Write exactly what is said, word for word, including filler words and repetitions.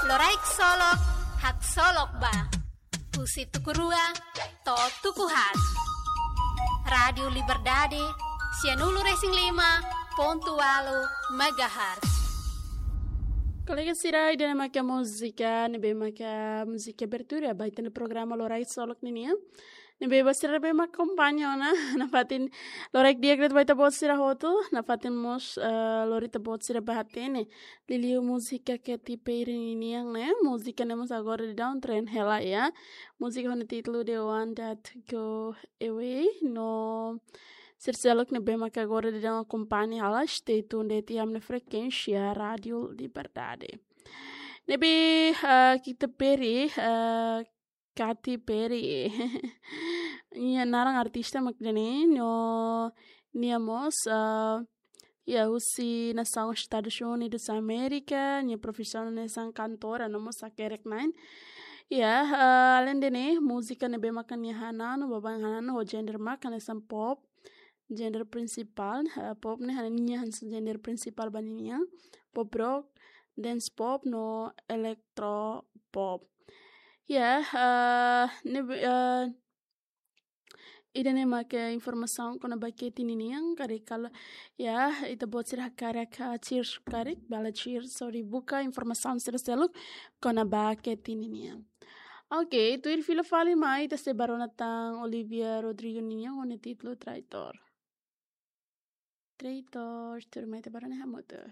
Loraik Solok, haksolok ba. Husi tuku rua to'o tuku haat. Rádiu Liberdade, sianulu-resin-lima pontu ualu megahertz. Kolega sira, ida-ne'e maka múzika, ne'ebé maka múzika abertura ba ita-nia programa Loraik Solok ninian. Ne'ebé ba sira ne'ebé mak akompaña ona, nafatin loraik di'ak de'it ba ita-boot sira hotu, nafatin mós, eh, lori ita-boot sira bá hatene liuliu múzika Katy Perry ninian ne'e, múzika ne'e mós agora daudaun trend hela, ya. Múzika ho nia títulu The One That Go Away, no sira seluk ne'ebé mak agora daudaun akompaña hela, stay tuned de'it iha ami-nia frekuénsia Rádiu Liberdade. Ne'ebé, eh, Katy Perry, eh, Katy Perry. Nia naran artista mak ida-ne'e, no nia mós, ah, ya, husi nasaun Estadus Unidus Amérika, nia profisaun hanesan kantora no mós hakerek-na'in. Ya, ah, aleinde ne'e, múzika ne'ebé maka nia hananu, baibain hananu ho gender mak hanesan pop, gender prinsipál, eh, pop ne'e hanesan nia hanesan gender prinsipál ba ninian, pop rock, dance pop no electro pop. Ya, eh, ne'e, eh, ida-ne'e maka informasaun kona-ba Katy ninian, karik kalau, ya, ita-boot sira hakarak, ah, cheers karik, bele cheers, sorry, buka informasaun sira seluk kona-ba Katy ninian. Oke, tuir fila fali mai ita sei bá rona tan Olivia Rodrigo nian ho nia títulu Traitor. Traitor, tuirmai ita bá rona hamutuk.